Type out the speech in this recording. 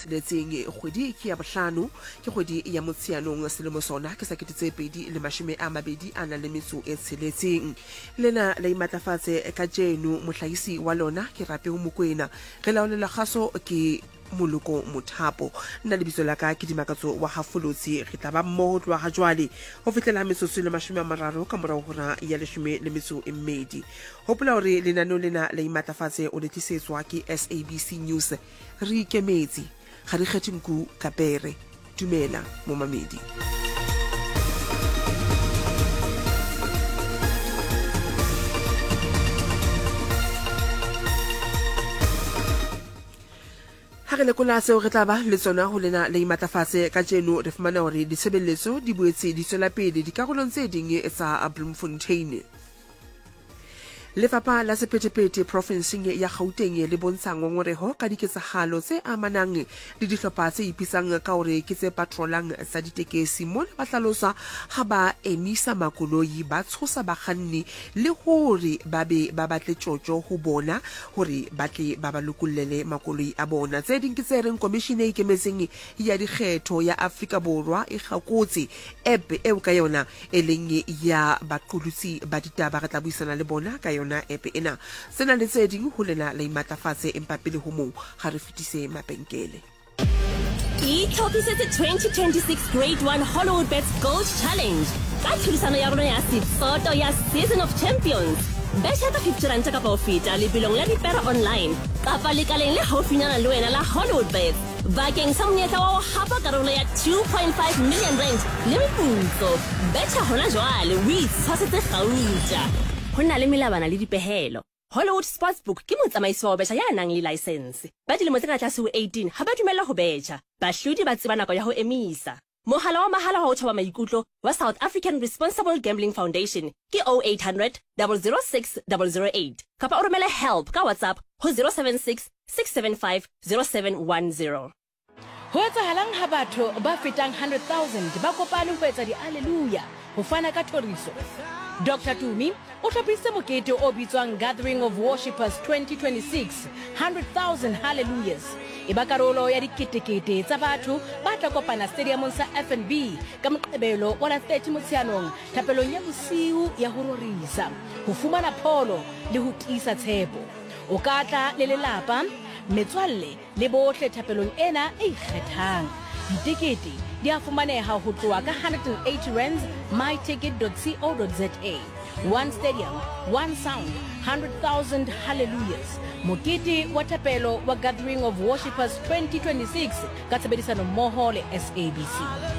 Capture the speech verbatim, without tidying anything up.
tsheletseng kgwedi ke ya bohlano ke kgwedi ya Motsheanong selemo sona ke sa kete tse pedi le mashome a mabedi a nang le metso e tsheletseng. Lena la imatlafatse kajeno mohlahisi wa lona ke Rapeo Mokwena, re laolela kgaso ke Moloko Mothapo. Nna lebitso la ka ke Dimakatso wa Hafolotsi. Re tla ba mmoho tloha ha jwale ho fihlela metsotso le mashome a mararo ka morao hora ya leshome le metso e mmedi. Hopola hore lenaneo lena la imatlafatse o le tlisetswa ke S A B C News. Re ikemetse, ga re kgethe nku ka pere. Dumela momamedi. Ha re lekola seo re tla ba le tsona ho lena le imatlafatse kajeno, re fumana hore ditshebeletso di boetse di tswela pele dikarolong tse ding tsa Bloemfontein. Lefapha la sephethephethe profenseng ya Gauteng le bontsha ngongoreho ka diketsahalo tse amanang le dihlopha tse ipitsang ka hore ke tse patrolang tsa ditekesi. Mona ba hlalosa ha ba emisa makoloi, ba tshosa bakganni le hore ba be ba batle tjotjo ho bona hore ba tle ba ba lokollele makoloi a bona. Tse ding ke tse reng komishene e ikemetseng ya dikgetho ya Afrika Borwa e kgakotse app eo ka yona e leng ya baqolotsi ba ditaba. Re tla buisana le bona ka yona app ena. Sena le tse ding ho lena la imatlafatse, empa pele ho moo ga re fetise mabenkele. Itlhophisetse twenty twenty-six Grade one Hollywood Bets Gold Challenge ka tlhodisano ya rona ya setsoto ya Season of Champions. Betjha ka fifty ranta kapa ho feta lebelong la dipere online kapa lekaleng le haufinyana le wena la Hollywood Bets bakeng sa monyetla wa ho hapa karolo ya two point five million rand le meputso. Betjha hona jwale o itshwasetse kgauta. Ho na le melawana le dipehelo. Hollywood Sportsbook ke motsamaisi wa ho betjha ya nang le license. Ba dilemo tse ka tlase ho eighteen ha ba dumellwa ho betjha. Bahlodi ba tseba nako ya ho emisa. Mohala wa mahala wa ho thoba maikutlo wa South African Responsible Gambling Foundation ke oh eight hundred, double zero six, double zero eight kapa o romele help ka WhatsApp ho zero seven six, six seven five, zero seven one zero. Ho etsahalang ha batho ba fetang hundred thousand ba kopane ho etsa di-alleluia ho fana ka thoriso? Doctor Tumi o hlophisitse mokete o bitswang Gathering of Worshippers twenty twenty-six, hundred thousand hallelujahs. E ba karolo ya diketekete tsa batho ba tla kopana stadiumong sa F N B ka Moqebelo wa la thirty Motsheanong thapelong ya bosiu ya ho rorisa, ho fumana pholo le ho tiisa tshepo. O ka tla le lelapa, metswalle le bohle thapelong ena e ikgethang. Ditekete di a fumaneha ho tloha ka hundred and eighty rands my ticket dot co dot za. One stadium, one sound, hundred thousand hallelujahs. Mokete wa thapelo wa Gathering of Worshippers twenty twenty-six ka tshebedisano mmoho le S A B C.